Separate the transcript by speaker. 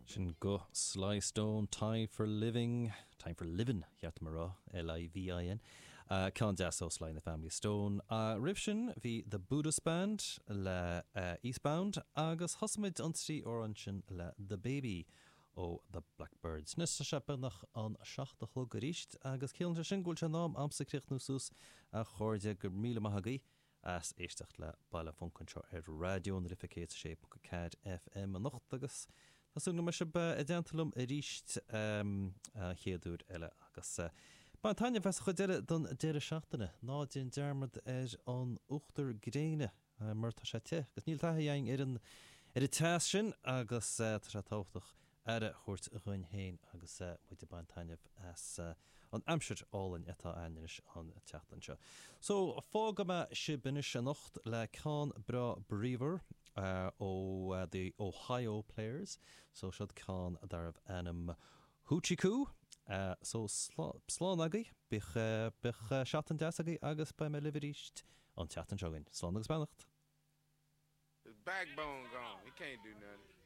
Speaker 1: Sin guth Sly Stone, Time for Living, Time for Livin', cheart dom a rá, L-I-V-I-N. Ceann deas ó Sly and the Family Stone. Roimh sin bhí The Buddhist Band le Eastbound agus thosaigh muid an trí amhrán sin le The Baby ó The Blackbyrds. Anois tá sé beagnach an 7 a chlog arís agus ciallaíonn sé sin go bhfuil sé in am a'msa críochnú suas a chairde, go raibh míle maith agaibh. as éisteacht le Baile Func anseo ar Raidió na Life 106.4 FM anocht agus tá súil go mbeidh sibh i dteannta liom arís an chéad uair eile agus bain taitneamh as an chuid eile den deireadh seachtaine. Ná déan dearmad ar an uachtar gréine mar tá sé te agus níl taithí againn ar an ar an teas sin agus tá sé tábhachtach aire a thabhairt dhúinn féin agus muid ag baint taitneamh as an aimsir álainn atá againn anois an tseachtain seo. So, fágfaidh mé sibh anois anocht le ceann breá bríomhar ó The Ohio Players. So, seod ceann darbh ainm Hoochie Coo. So, slán agaibh, bíodh, bíodh seachtain deas agaibh agus beidh mé libh arís an tseachtain seo chugainn. Slán agus beannacht!
Speaker 2: His backbone gone. He can't do nothing.